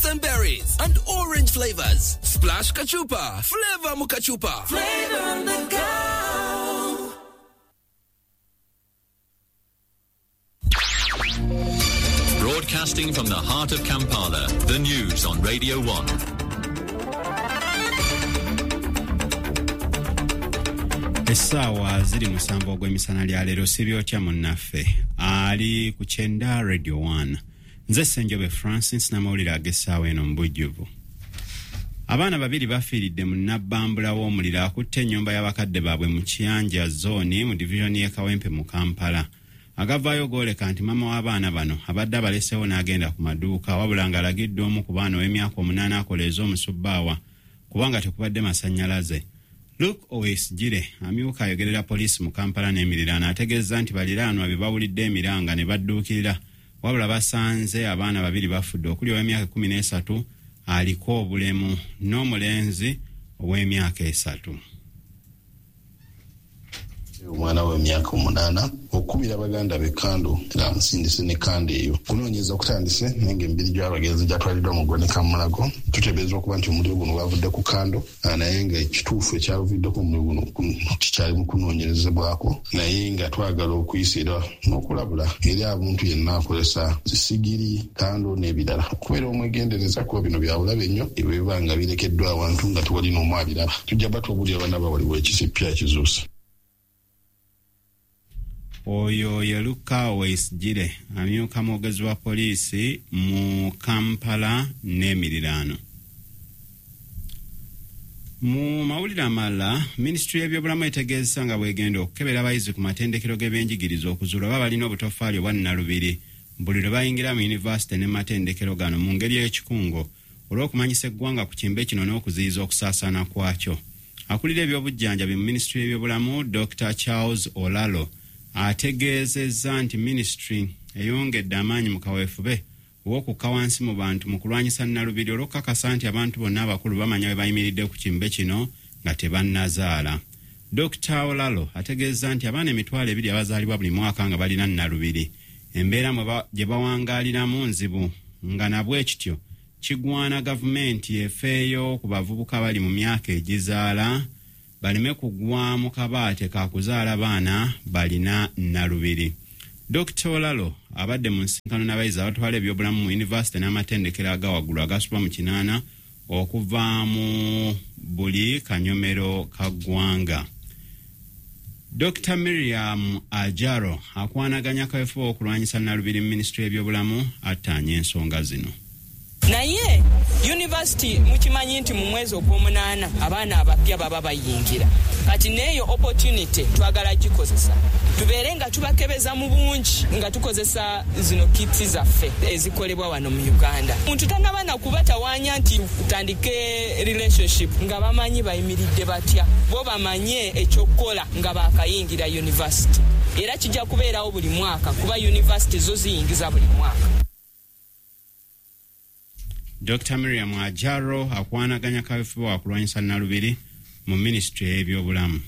and berries, and orange flavors. Splash Kachupa. Flavor Mukachupa. Flavor on the go. Broadcasting from the heart of Kampala, the news on Radio 1. Essaawa ziri 7 ogw'emisana lya leero. Sibyotya munnaffe ali ku kyenda Radio 1. Nze Ssenjobe Francis n'amawulire ag'essaawa eno mu bujjuvu. Abaana 2 bafiiridde mu nabbambula w'omuliro akutte ennyumba y'abakadde baabwe mu Kiyanja zooni mu divizoni y'e Kawempe mu Kampala. Agavaayo gooleka nti maama w'abaana bano abadde abaleseewo n'agenda ku maduuka, wabula ng'alagiddwa omu ku baana ow'emyaka 8 akoleeza omusubbaawa kubanga tekubadde masannyalaze. Luke Owesigire amyuka ayogerera poliisi mu Kampala n'emiriraano ategeeza nti baliraanwa be bawulidde emiranga ne badduukirira, wabula basanze abaana 2 bafudde okuli ow'emyaka 13 aliko obulemu n'omulenzi ow'emyaka 3. Omwana w'emyaka 8 okubira baganda be kando era amusindise ne kando eyo. Kunoonyeza okutandise naye ng'emibiri gy'abagenzi gyatwaliddwa mu ggwanika Mulago. Tuteebereza okuba nti omuliro guno gwavudde ku kando, naye nga ekituufu ekyavuddeko omuliro guno kikyali mu kunoonyerezebwako, naye nga twagala okuyisa era n'okulabula eri abantu yenna akozesa zisigiri, kando n'ebirala okubeera omwegendereza kuba bino bya bulabe nnyo ebiba nga birekeddwa awantu nga tewali n'omu abiraba. Tujja batubuulira bannaba waliwo ekisipya ekizuuse. Oyo ye Luka Owesigire amyuka mwogezi wa poliisi mu Kampala n'emiriraano. Mu mawulire amalala, minisitule y'ebyobulamu etegeezesa nga bw'egenda okukebera abayizi ku matendekero g'ebyenjigiriza okuzuula oba balina obutofaali obwa nnalubiri buli lwe bayingira mu yunivasite ne matendekero gano mu ngeri y'ekikungo olw'okumanyisa eggwanga ku kimbe kino n'okuziyiza okusaasaana kwakyo. Akulira ebyobujjanjabi mu minisitule y'ebyobulamu Dr. Charles Olalo ategeezezza nti minisitule eyongedde amaanyi mu kaweefube ow'okukka wansi mu bantu mu kulwanyisa nnalubiri olw'okukakasa nti abantu bonna abakulu bamanya bwe bayimiridde ku kimbe kino nga tebannazaala. Dr. Olalo ategeezezza nti abaana 20,000 abazaalibwa buli mwaka nga balina nnalubiri embeera gye bawangaaliramu nzibu, nga nabwe kityo kigwana gavumenti efeeyo ku bavubuka abali mu myaka egizaala baleme kugwa mu kabaate ka kuzaala baana balina nnalubiri. Dr. Olalo abadde mu nsinkano n'abayizi abatwala ebyobulamu mu yunivasite n'amatendekero aga waggulu agasoba mu 8 okuva mu buli kanyomero ka ggwanga. Dr. Miriam Ajaro akwanaganya kaweefube okulwanyisa nnalubiri mu minisitule y'ebyobulamu attaanya ensonga zino. Naye university mukimanyi nti mu mwezi ogw'omunaana abaana abapya baba bayingira, kati n'eyo opportunity twagala gikozesa tubeere nga tubakebeza mu bungi nga tukozesa zino kits zaffe ezikolebwa wano mu Uganda. Muntu tannaba na kubatawaanya nti tutandike relationship nga bamanyi bayimiridde batya, bo bamanye ekyokukola nga bakayingira university. Era kijja kubeerawo buli mwaka kuba university zo ziyingiza buli mwaka. Dr. Miriam Ajaro akwanaganya kaweefube wa kulwanyisa nnalubiri mu minisitule y'ebyobulamu.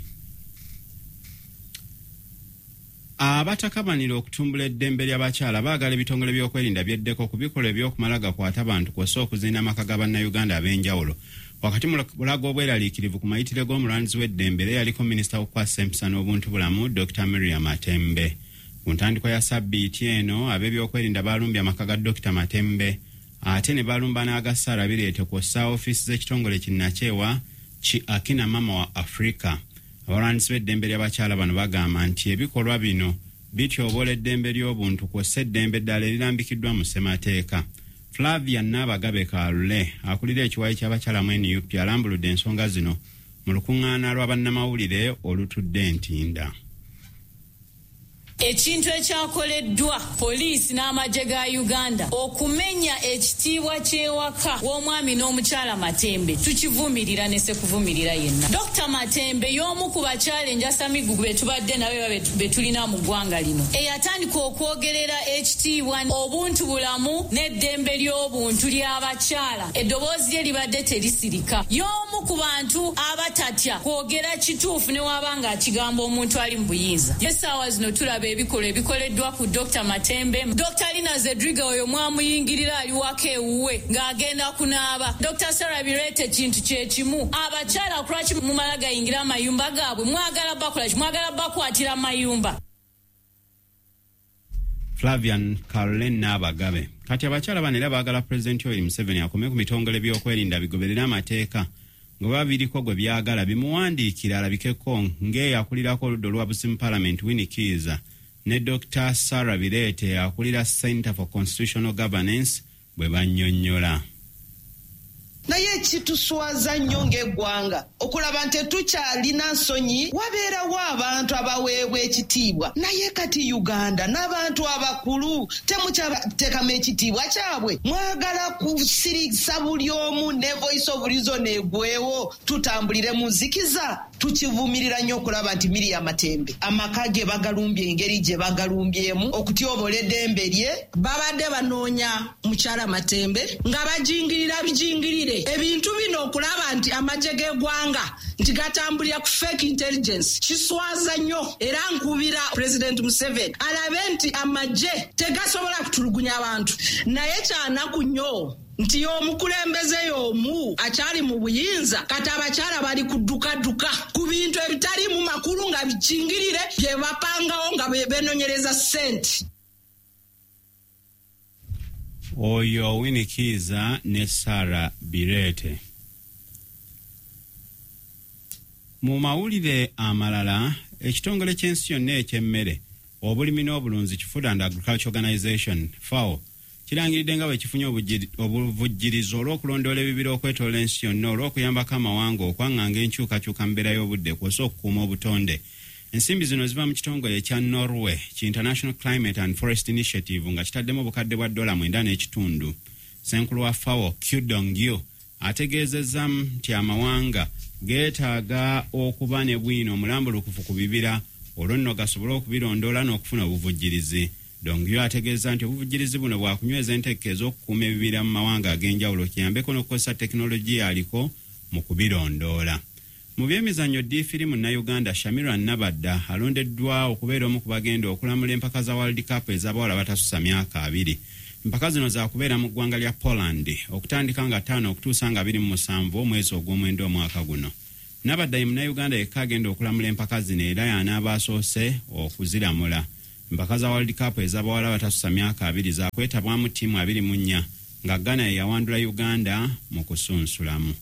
Abatakabanira okutumbula eddembe ly'abakyala baagala ebitongole by'okwerinda byeddeko ku bikolwa eby'okumala gakwata bantu kw'ossa okuzinda amaka ga bannayuganda ab'enjawulo. Wakati mu bulaga obweraliikirivu ku mayitire g'omulwanirizi w'eddembe era yaliko minisita w'okukwasisa empisa n'obuntu bulamu Dr. Miriam Matembe. Ku ntandikwa ya sabbiiti eno ab'ebyokwerinda baalumbye amaka ga Dr. Matembe ate ne balumba n'aga Sarah Bireete kw'ossa ofiisi z'ekitongole kinnakyewa ki Akina Mama wa Africa. Abalwanisi b'eddembe ly'abakyala bano bagamba nti ebikolwa bino bityoboola eddembe ly'obuntu kw'ossa eddembe eddala erirambikiddwa mu ssemateeka. Flavia Naabagabe Kalule akulira ekiwayi ky'abakyala mu NUP alambuludde ensonga zino mu lukuŋŋaana lwa bannamawulire olutudde Ntinda. Ekintu ekyakoleddwa poliisi n'amagye ga Uganda okumenya ekitiibwa ky'ewaka w'omwami n'omukyala Matembe tukivumirira ne sekuvumirira yenna. Dr. Matembe y'omu ku bakyala enjasamigugu be tubadde nabo be tulina mu ggwanga lino, eyatandika okwogerera ekitiibwa, obuntu bulamu n'eddembe ly'obuntu ly'abakyala. Eddoboozi lye libadde terisirika. Y'omu ku bantu abatatya kwogera kituufu ne waba ng'akigamba omuntu ali mu buyinza. Essaawa zino tulaba ebikolwa ebikoleddwa ku Dr. Matembe. Dr. Lina Zedriga oyo mwamuyingirira ali waka ewuwe ng'agenda kunaaba. Dr. Sarah Bireete kintu kyekimu. Abakyala kulwaki mumala gayingira amayumba gaabwe? Mwagala bakola ki? Mwagala bakwatira amayumba. Flavian Caroline Nabagabe. Kati abakyala bano era baagala Pulezidenti Yoweri Museveni akome ku bitongole by'okwerinda bigoberere amateeka nga babiriko gwe byagala bimuwandiikira alabikeko ng'eyakulirako oludda olwa mu Parliament Winnie Kiiza ne Dr. Sarah Bireete akulira Center for Constitutional Governance bwe bannyonnyola. Naye kituswaza nnyo ng'eggwanga okulaba nti tetukyalina nsonyi, wabeerawo abantu abaweebwa ekitiibwa, naye kati Uganda n'abantu abakulu temukyateekamu ekitiibwa kyabwe. Mwagala kusirisa buli omu ne voice of reason egwewo, tutambulire mu nzikiza. Tukivumirira nnyo okulaba nti Miria Matembe amaka ge bagalumbye engeri gye bagalumbyemu okutyobola eddembe lye. Babadde banoonya mukyala Matembe nga bajingirira bijingirire ebintu bino, okulaba nti amagye g'eggwanga nti gatambulira ku fake intelligence kiswaza nnyo. Era nkubira President Museveni alabe nti amagye tegasobola kutulugunya abantu, naye kyanaku nnyo nti y'omukulembeze y'omu akyali mu buyinza. Kati abakyala bali kuddukaduka ku bintu ebitaliimu makulu nga bikingirire bye bapangawo nga benoonyereza ssente. Oyo Winnie Kiiza ne Sarah Bireete. Mu mawulire amalala, ekitongole ky'ensi yonna eky'emmere, obulimi n'obulunzi ki Food and Agriculture Organization FAO kirangiridde nga bwe kifunye obuvujjirizo olw'okulondoola ebibira okwetoola ensi yonna olw'okuyambako amawanga okwaŋŋanga enkyukakyuka mu mbeera y'obudde kw'ossa okukuuma obutonde. Ensimbi zino ziva mu kitongole ekya Norway ki International Climate and Forest Initiative nga kitaddemu obukadde bwa $9.5. Ssenkulu wa FAO Qu Dongyu ategeezezza nti amawanga geetaaga okuba ne bwino omulambulukufu ku bibira olwo nno gasobole okubirondoola n'okufuna obuvujjirizi. Dongyu ategeeza nti obuvujjirizi buno bwakunyweza enteeka ez'okukuuma ebibira mu mawanga ag'enjawulo kiyambeko n'okukozesa tekinologiya aliko mu kubirondoola. Mu byemizannyo, ddiifiri munnayuganda Shamira Nabadda alondeddwa okubeera omu ku bagenda okulamula empaka za World Cup ez'abawala batasusa myaka 20. Empaka zino zakubeera mu ggwanga lya Poland okutandika nga 5 okutuusa nga 27 omwezi ogw'omwenda omwaka guno. Nabadda ye munnayuganda yekka agenda okulamula empaka zino era y'anaaba asoose okuziramula. Empaka za World Cup ez'abawala batasusa myaka 20 zakwetabwamu ttiimu 24 nga Ghana ye yawandula Uganda mu kusunsulamu.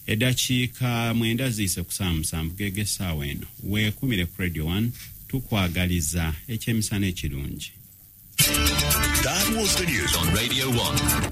Eddakiika 9 ziyise ku ssaawa 7 geege essaawa eno. Weekumire ku Radio 1, tukwagaliza ekyemisana ekirungi. That was the news on Radio 1.